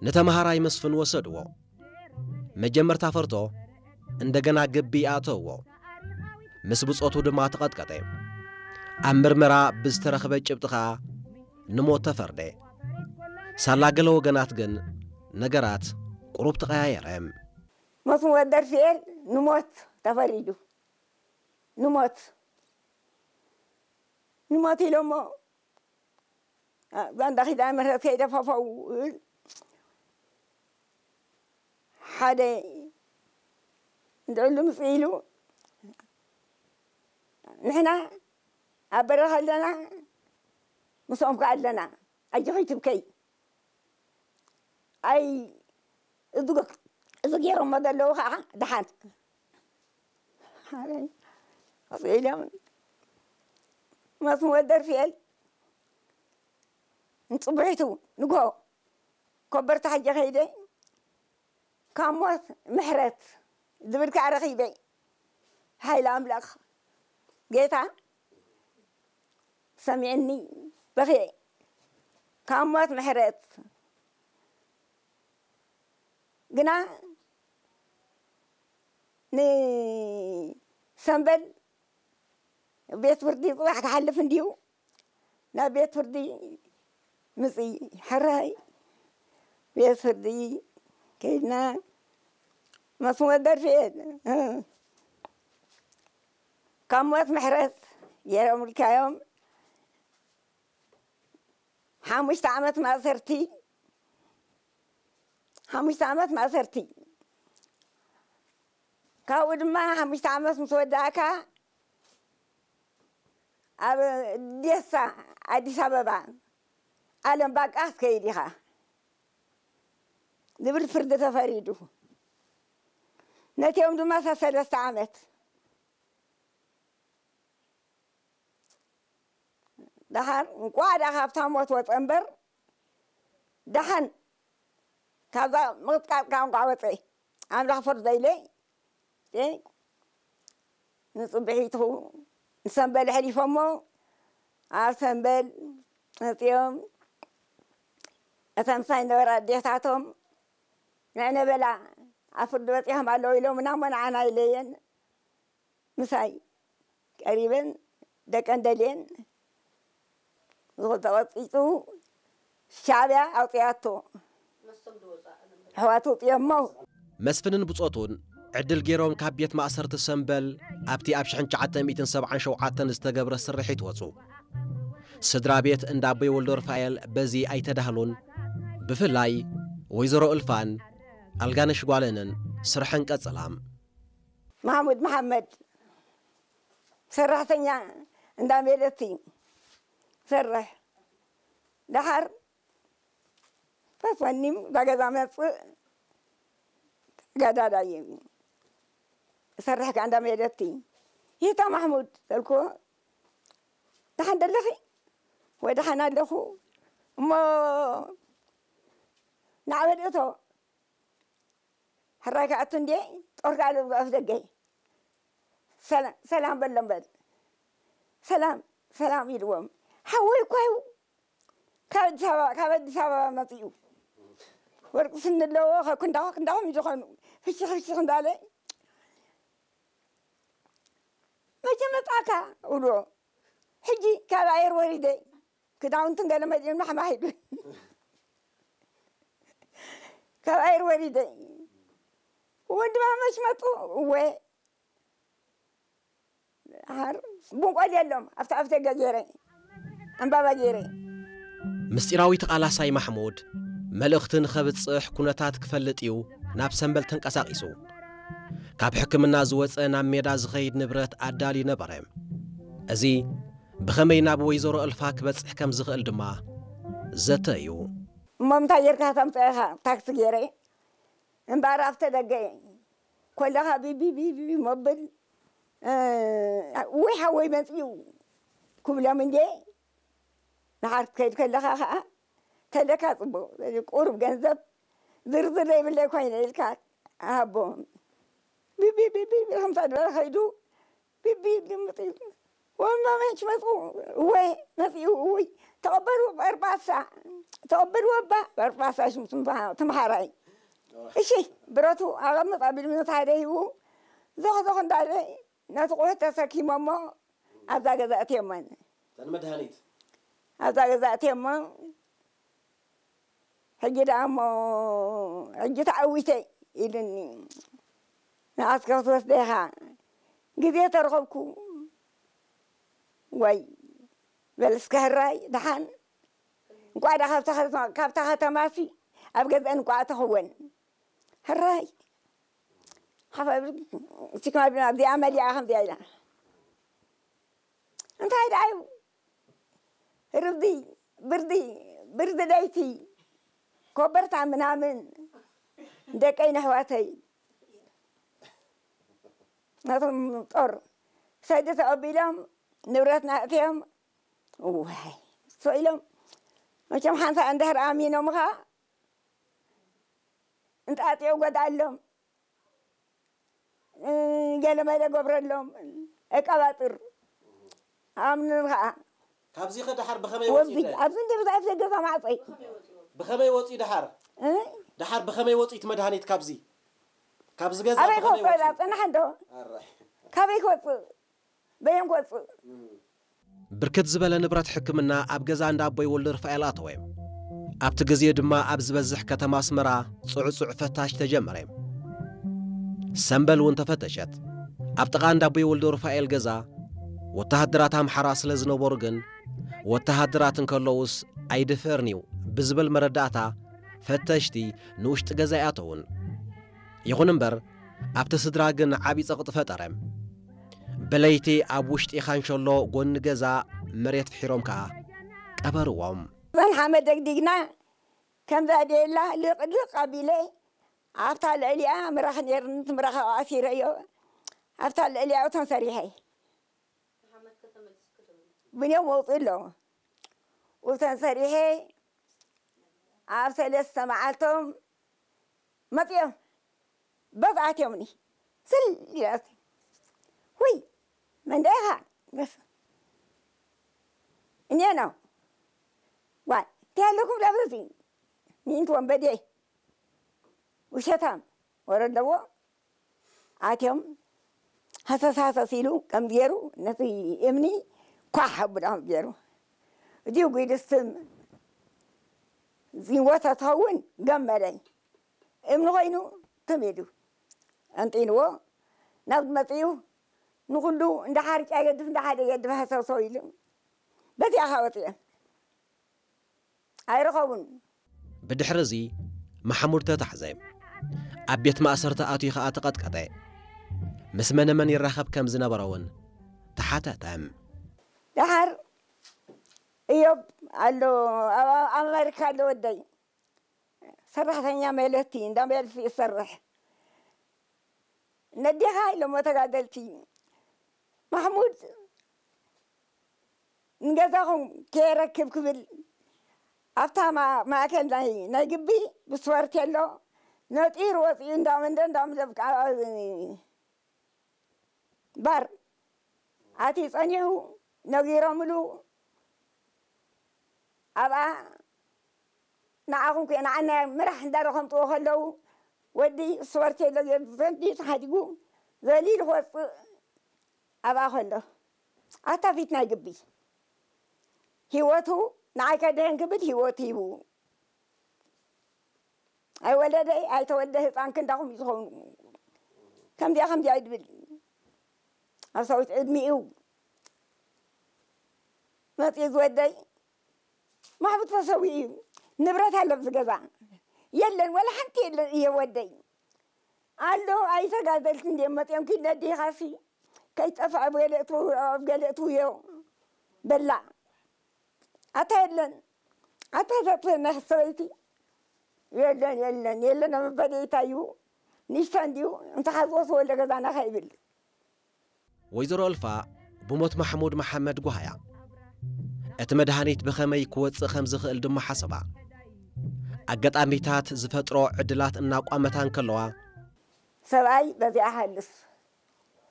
ንተምሃራይ መስፍን ወሰድዎ። መጀመርታ ፈርቶ እንደገና ግቢ ኣእተውዎ። ምስ ብጾቱ ድማ ተቐጥቀጠ። ኣብ ምርመራ ብዝተረኽበ ጭብጢ ኸኣ ንሞት ተፈርደ። ሳላ ገለ ወገናት ግን ነገራት ቁሩብ ተቐያየረ። መስፍን ወልደርፍኤል ንሞት ተፈሪዱ። ንሞት ንሞት ኢሎሞ። ዛንዳ ኪዳነ ምሕረት ከይደ ፈፈው እብል። ሓደ እንድዕሉ ምጽእ ኢሉ፣ ንሕና ኣብ በረኻ ኣለና፣ ምስኦም ከኣ ኣለና፣ ኣጆኺ ትብከይ። ኣይ፣ እዚ ገ-፣ እዚ ገይሮሞ ዘለዉ ከዓ ደሓን። ሓረይ፣ መጽእ ኢሎም፣ መስፍን ወልደርፍኤል፣ ንጽቡሒቱ ንግሆ ኮበርታ ሕጂ ከይደ፣ ካብ ሞት ምሕረት ዝብል ከኣ ረኺበ። ሓይሊ ኣምላኽ ጌታ ሰሚዕኒ፣ በኽየ። ካብ ሞት ምሕረት ግና ንሰምበል ቤት ፍርዲ ጽባሕ ክሓልፍ እንድዩ። ናብ ቤት ፍርዲ ምጺ፣ ሕራይ ቤት ፍርዲ ከይድና፣ መስፍን ወልደርፍኤል፣ እ፣ ካብ ሞት ምሕረት ገይሮምልካዮም። ሓሙሽተ ዓመት ማእሰርቲ፣ ሓሙሽተ ዓመት ማእሰርቲ። ካብኡ ድማ ሓሙሽተ ዓመት ምስ ወዳእካ፣ ኣብ ዴሳ ኣዲስ ኣበባ ኣለም ባቃ ክትከይድ ኢኻ ዝብል ፍርዲ ተፈሪዱ። ነቲኦም ድማ ሰለስተ ዓመት። ደሓር እንቋዕ ደኣ ካብታ ሞት ወጸ እምበር፣ ደሓን ካብዛ ምቕጥቃጥ ቋንቋ ወጸ። ኣምላኽ ፈርዶ ኢለ፣ ንጽብሒቱ ንሰምበል ኣሕሊፎሞ፣ ኣብ ሰምበል መጺኦም፣ እተን ምሳይ ዝነበራ ኣዴታቶም፣ ንዕነ በላ፣ ኣብ ፍርዲ በጺሖም ኣለዉ ኢሎምና እሞ፣ ንዓና ኢለየን ምሳይ ቀሪበን፣ ደቀን ደልየን፣ ተቐጺጹ፣ ሻዕብያ ኣውጺኣቶ። ኣሕዋቱ ውጽኦሞ። መስፍንን ብጾቱን ዕድል ገይሮም ካብ ቤት ማእሰርቲ ሰምበል ኣብቲ ኣብ ሽሕን ትሽዓተ ሚእትን ሰብዓን ሸውዓተን ዝተገብረ ስርሒት ወጹ። ስድራ ቤት እንዳ ኣቦይ ወልደሩፋኤል በዚ ኣይተዳህሉን። ብፍላይ ወይዘሮ እልፋን ኣልጋነሽ ጓለንን ስርሐን ቀጸላ። ማሕሙድ መሓመድ ሰራሕተኛ እንዳ ሜለቲ ሰርሕ። ደሓር ፈስፈኒም እዛ ገዛ መጽእ ተጋዳላይ እሰርሕ ከኣ እንዳ ሜለቲ። ይታ ማሕሙድ ተልኮ፣ ደሓን ደለኺ? ወይ ደሓን ኣለኹ እሞ ንዓበድ እቶ ሕራይ ክኣቱ እንድየ፣ ጦር ክኣልብ ኣፍ ደገ። ሰላ-፣ ሰላም በሎም በል። ሰላም፣ ሰላም ኢልዎም። ሓወይ እኳ እዩ ካብ ኣዲስ ኣበባ፣ ካብ ኣዲስ ኣበባ መጺኡ። ወርቂ ስኒ ኣለዎ፣ ከ-፣ ክንዳኹ፣ ክንዳኹም ዝኾኑ። ፍሽኽ፣ ፍሽኽ እንዳለ፣ "መቼ መጻእካ?" እብልዎ። ሕጂ ካብ ኣየር ወሪደ። ክዳውንትን ገለ መሊኡና ሓማሂዱ። ካብ ኣየር ወሪደ። ወንድማመች መጡ። እወ። ሓር ቡንቆል የሎም። ኣብቲ ኣፍ ደገ ገይረ። ዕምባባ ገይረ። ምስጢራዊ ተቓላሳይ ማሕሙድ መልእኽቲ ንኸብጽሕ ኩነታት ክፈልጥ እዩ ናብ ሰምበል ተንቀሳቒሱ። ካብ ሕክምና ዝወጸ ናብ ሜዳ ዝኸይድ ንብረት ኣዳልዩ ነበረ። እዚ ብኸመይ ናብ ወይዘሮ እልፋ ክበጽሕ ከም ዝኽእል ድማ ዘተ እዩ። እሞ እንታይ ጌርካ ተምጽእኻ? ታክሲ ገይረ እምበኣር ኣብተ ደገ ኮለኻ ቢቢ ቢቢ መብል፣ እ፣ ወይ ሓወይ መጽዩ ክብሎም እንዴ፣ ንሓር ክትከይድ ከለኻ ኸኣ ተለካ ጽቡቕ ቁሩብ ገንዘብ ዝርዝር ዘይብለይ ኮይነ ኢልካ ሃቦ። ቢቢ ቢቢ ቢቢ ከምሳ ዝበለ ከይዱ ቢቢ ልምጥ ኢሉ ወማ መች መፁ? እወ መፅኡ። እውይ ተቐበሉ በርባሳ፣ ተቐበሉ ወባ በርባሳ ሽም ትምሃራይ። እሺ ብረቱ ኣቐምጥ ኣቢሉ ነቲ ሓደ ሂቡ ዞኽ ዞኽ እንዳለ ነቲ ቁሑት ተሰኪሞሞ ኣብዛ ገዛ እትዮመን። ተን መድሃኒት ኣብዛ ገዛ እትዮሞ ሕጂ ደኣ እሞ ሕጂ ተዓዊተ ኢሉኒ። ንኣስከ ክትወስደ ኢኻ ግዜ ተረኸብኩ። ዋይ በል እስከ ሕራይ ደሓን እንቋዕ ደኣ ካብታ ከተማ- ካብታ ከተማሲ ኣብ ገዝአን እንቋዕ ተኽወን። ሕራይ ሓፈ እቲክማ ኣብዚኣ መሊኣ ከምዚኣ ኢላ እንታይ ደኣ እዩ ርብዲ ብርዲ ብርዲ ለይቲ ኮበርታ ምናምን ደቀይ ነሕዋተይ ነቶም ጦር ሰዲ ተቐቢሎም ንብረትና እትዮም ዋይ ሶ ኢሎም መቸም ሓንሳ እንድሕር ኣሚኖምኻ እንጣጢዮ ጎድኣሎም ገለመለ ገብረሎም እቀባጥር ኣምንን ከዓ ካብዚ ከ ደሓር ብኸመይ ወፂ ወብዚ ኣብዚ እንደ ብዙሓት ገዛ ማዕፀይ ብኸመይ ወፂ ደሓር እ? ደሓር ብኸመይ ወፂ እቲ መድሃኒት ካብዚ ካብዚ ገዛ ኣበይ ብኸመይ ክወፅእ ወፂ ዳ ፅናሕ እንዶ ኣራይ ካበይ ክወፅእ በየን ክወፅእ ብርክት ዝበለ ንብረት ሕክምና ኣብ ገዛ እንዳ ኣቦይ ወልደሩፋኤል ኣተወ። ኣብቲ ግዜ ድማ ኣብ ዝበዝሕ ከተማ ኣስመራ ጽዑጹዕ ፈታሽ ተጀመረ። ሰምበል እውን ተፈተሸት። ኣብ ጥቓ እንዳ ኣቦይ ወልደሩፋኤል ገዛ ወተሃደራት ኣምሓራ ስለ ዝነበሩ ግን ወተሃደራት እንከለዉስ ኣይድፈርን'ዩ ብዝብል መረዳእታ ፈተሽቲ ንውሽጢ ገዛ ኣይኣተዉን። ይኹን እምበር ኣብቲ ስድራ ግን ዓቢ ጸቕጢ ፈጠረ። ብለይቲ ኣብ ውሽጢ ካንሸሎ ጎኒ ገዛ መሬት ፍሒሮም ከኣ ቀበርዎም። እዘን ሓመድ ደግዲግና ከምዛ ደላ ልቕልቕ ኣቢለ ኣብታ ልዕሊኣ ምራኽ ነይርኒ እቲ ምራኽ ኣሲረዮ ኣብታ ልዕሊኣ እቶም ሰሪሐ ብንዮም ወውፅእ ኣለዎ ውተን ሰሪሐ ኣብ ሰለስተ መዓልቶም መፅኦም በዚ ኣትዮምኒ ስል ኢላስ ወይ መንደኻ በስ እኔ ነው ዋይ እንታይ ኣለኩም ለብዚ ሚንት ወንበዴ ውሸታም ወረ ኣለዎ ኣትዮም ሃሰስ ሃሰስ ኢሉ ከም ገይሩ ነቲ እምኒ ኳሕ ኣቡዳ ከም ገይሩ እዚኡ ጉድስትም ዝወተ ትኸውን ገመለይ እምኒ ኮይኑ ትም ኢሉ ኣንጢንዎ ናብ መፅኡ ንኩሉ እንዳ ሓርጫ የድፍ እንዳ ሓደ የድፍ ሃሰሶ ኢሉ በዚኣ ካ ወፅኦም ኣይረኸቡን። ብድሕሪ እዚ ማሕሙድ ተታሕዘ። ኣብ ቤት ማእሰርቲ ኣትዩ ኸኣ ተቐጥቀጠ። ምስ መነመን ይራኸብ ከም ዝነበረ እውን ተሓተተ። ደሓር እዮብ ኣሎ ኣብ ኣመሪካ ኣሎ ወደይ ሰራሕተኛ መለቲ እንዳ መለቲ ይሰርሕ ነዴኻ ኢሎሞ ተጋደልቲ ማሕሙድ ንገዛኹም ከየረክብ ክብል ኣብታ ማእከል ናይ ናይ ግቢ ብስፖርት የሎ ነጢሩ ወፂኡ እንዳመንደ እንዳምለብ ባር ኣትዩ ፀኒሑ ነጊሮምሉ ኣብኣ ንዓኹም ከ ንዓና ምራሕ እንዳረኸምጥዎ ከለዉ ወዲ ስፖርት የሎ ዘንዲ ተሓዲጉ ዘሊሉ ክወፅእ ኣብኣ ከሎ ኣታ ፊት ናይ ግቢ ሂወቱ ንዓይ ከድሕን ክብል ሂወቱ ሂቡ ኣይወለደ ኣይተወልደ ህፃን ክንዳኹም እዩ ዝኸውን ከምዚኣ ከምዚኣ ይድብል ኣብ ሰዊት ዕድሚኡ መፅኡ ዝወደይ ማሕቡት ተሰዊኡ እዩ ንብረት ኣሎ ኣብዚ ገዛ የለን ወላ ሓንቲ የለን እየ ወደይ ኣሎ ኣይተጋደልቲ እንደ መፅኦም ኪድ ነዲኻሲ ከይጠፍዐ ኣብ ገለ እትው- ኣብ ገለ እትውዮ በላ ኣታ የለን ኣታ ዘጥፈና ሰበይቲ የለን የለን የለን ኣብ በደይታ እዩ ንሽታ እንዲዩ እንተሓዝዎ ተወልደ ገዛና ከይብል ወይዘሮ እልፋ ብሞት ማሕሙድ መሓመድ ጓህያ እቲ መድሃኒት ብኸመይ ክወፅእ ከም ዝኽእል ድማ ሓሰባ። ኣጋጣሚታት ዝፈጥሮ ዕድላት እናቋመታ እንከለዋ፣ ሰብኣይ በዚኣ ሃልፍ